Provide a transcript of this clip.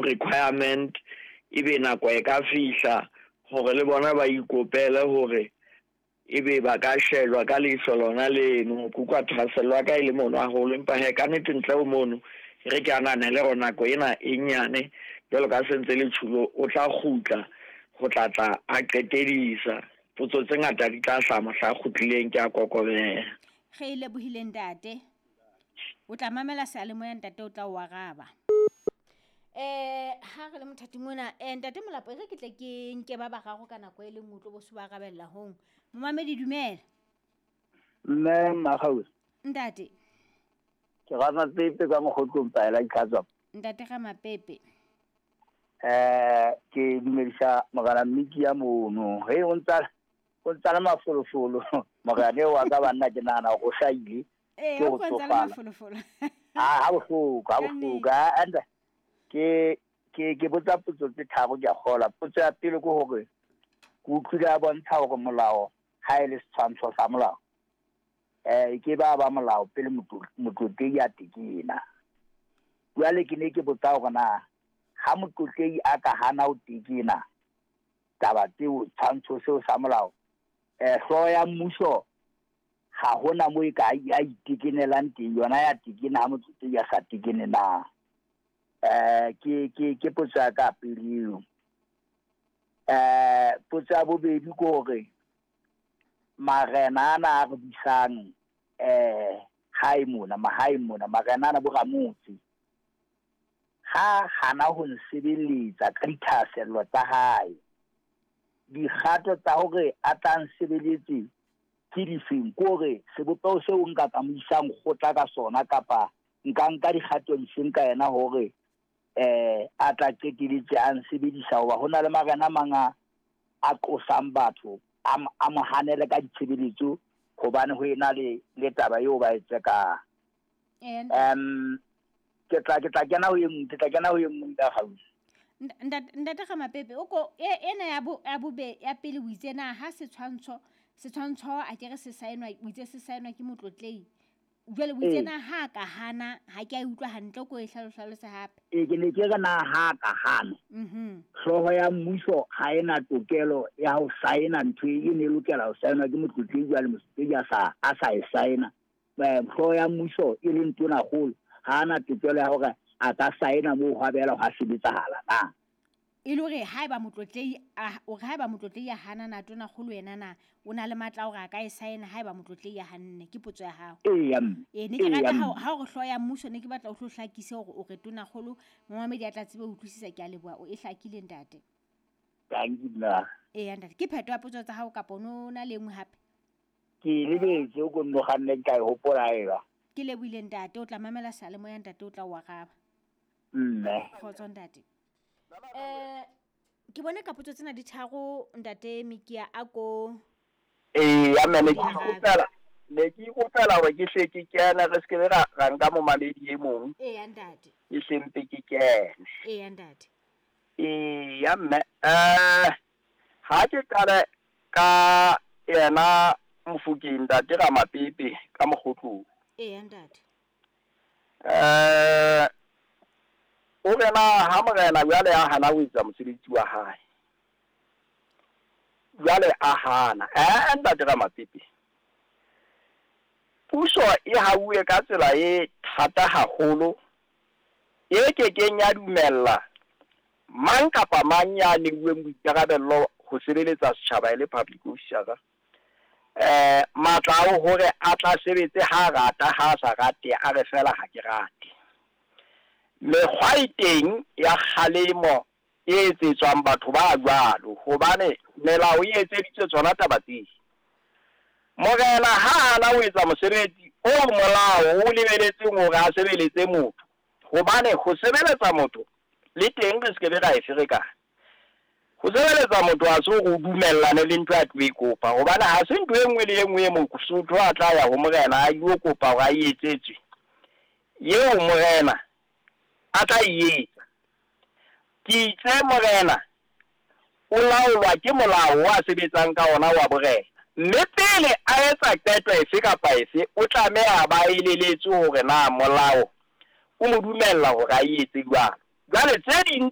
Requirement ebe nako e ka fihla hore le bona ba ikopele hore ebe ba ka shejwa ka leihlo lona leno. Ke utlwa thahasello ya ka e le mono haholo, empa hee ka nnete ntle ho mono e re ke ananele hore nako ena e nyane jwalo ka se ntse le tjhulo, o tla kgutla ho tla tla a qetedisa. Potso tse ngata di tla hlaha mohla a kgutlileng, ke a kokobela. Re e lebohile ntate. O tla mamela seyalemoya ntate o tla o araba. Eh ha re le mothating ona eh ntate Molapo e re ke tle ke nke ba bararo ka nako e le nngwe tlo bo se ba arabella hong. Momamedi dumela. Mme Makgau. Ntate. Ke Ramapepe ka mokgotlong paela ditlhatswa. Ntate Ramapepe. Eh ke dumedisa morena Mmiki ya mono. He o ntsa o ntsa le mafolofolo. Morena eo wa ka banna ke nahana hore o hlahile. Ee, Ke o ho ko ntsa le tsofala. mafolofolo. Ah, ha bohloko, ha Ka bohloko. nnete. Ah, and ke ke ke botsa potso tse tharo ke a kgola. Potso ya pele ke hore ke utlwile a bontsha hore molao ha e le setshwantsho sa molao. Eh ke ba ba molao pele motlotlehi a tekena. Jwale ke ne ke botsa hore na ha motlotlehi a ka hana ho tekena taba tseo tshwantsho seo sa molao, eh hlooho ya mmuso ha hona moo e ka ya itekenelang teng, yona ya tekena ha motlotlehi a sa tekene na. Eh ke ke ke potso ya ka pele eo. Eh potso ya bobedi ke hore marena ana a re busang eh hae mona, mahaeng mona, marena ana bo ramotse ha hana ho nsebeletsa ka dithahasello tsa hae, dikgato tsa hore a tla nsebeletse ke difeng? Ke hore sebopeho seo nka ka mo isang kgotla ka sona kapa nka nka dikgato difeng ka yena hore eh a tla qeteletse a nsebedisa, hoba ho na le marena a mang a a qosang batho a mo hanele ka ditshebeletso hobane ho ena le le taba eo ba e tsekang. Ee ntate. Ke tla ke tla kena ho e nngwe, ke tla kena ho e nngwe nka kgausi. Ntate ntate Ramapepe o ko e ena ya bo ya bobe ya pele o itse na ha setshwantsho setshwantsho a ke re se saenwa o itse se saenwa ke motlotlehi. Jwale o itse Ee. na ha ka hana ha ke a utlwa hantle ko e hlalose hape. Ee, ke ne ke re na ha ka hana. Hlooho ya mmuso ha ena tokelo ya ho saena ntho e ne e lokela ho saenwa ke motlotlehi, jwale motlotlehi a sa e saena. Eh, hlooho ya mmuso e leng tonakgolo ha ana tokelo ya hore a ka saena moo ho abela ho a sebetsahala na. E le hore haeba motlotlehi a o re haeba motlotlehi a hana na tonakgolo yena na o na le matla a hore a ka e saena haeba motlotlehi a hanne, ke potso ya hao. Eya mme. Ee, ne ke Eya rata mme. ha o re hlooho ya mmuso ne ke batla o hlo hlakise hore o re tonakgolo momamedi a tla tsebe ho utlwisisa, ke a leboha o e hlakile ntate. Thank you nna. Eya ntate, ke phetho ya potso tsa hao kapa o no na le e nngwe hape? Ke lebetse o ko nno kganne ka e hopola eba. Ke lebohile ntate, o tla mamela seyalemoya ntate o tla o araba. Mme. Kgotso ntate. Eh ke bone ka potso tsena di tharo ntate Mikia a ko Ee, ya mme ne ke Di arabe. ikopela, ne ke ikopela hore ke hle ke kene, re se ke be ra ra nka momamedi e mong. Eya ntate. Ke hle mpe ke kene. Eya ntate. Ee, ya mme eh ha ke qale ka yena Mofokeng ntate Ramapepe ka mokgotlong. Eya ntate. Eh o re na ha morena jwale a hana ho etsa mosebetsi wa hae. Jwale a hana. Eh ntate Ramapepe. Puso e hauwe ka tsela e thata haholo e kekeng ya dumella mang kapa mang ya neuweng boikarabello ho sebeletsa setjhaba e le public officer. Eh matla ao hore a tla sebetse ha rata ha sa rate a re fela ha ke rate. Mekgwa e teng ya kgalemo e etsetswang batho ba jwalo hobane melao e etseditswe tsona taba tseo. Morena ha ana ho etsa mosebetsi o molao o lebeletseng hore a sebeletse motho, hobane ho sebeletsa motho le teng re se ke be ra e ferekana. Ho sebeletsa motho ha se hore o dumellane le ntho a tlo e kopa, hobane ha se ntho e nngwe le e nngwe e mosotho a tla ya ho morena a ilo kopa hore a e etsetswe, eo morena a tla e etsa. Ke itse morena o laolwa ke molao o a sebetsang ka ona wa borena, mme pele a etsa qeto efe kapa efe o tlameha ba eleletswe hore na molao o mo dumella hore a e etse jwalo. Jwale tse ding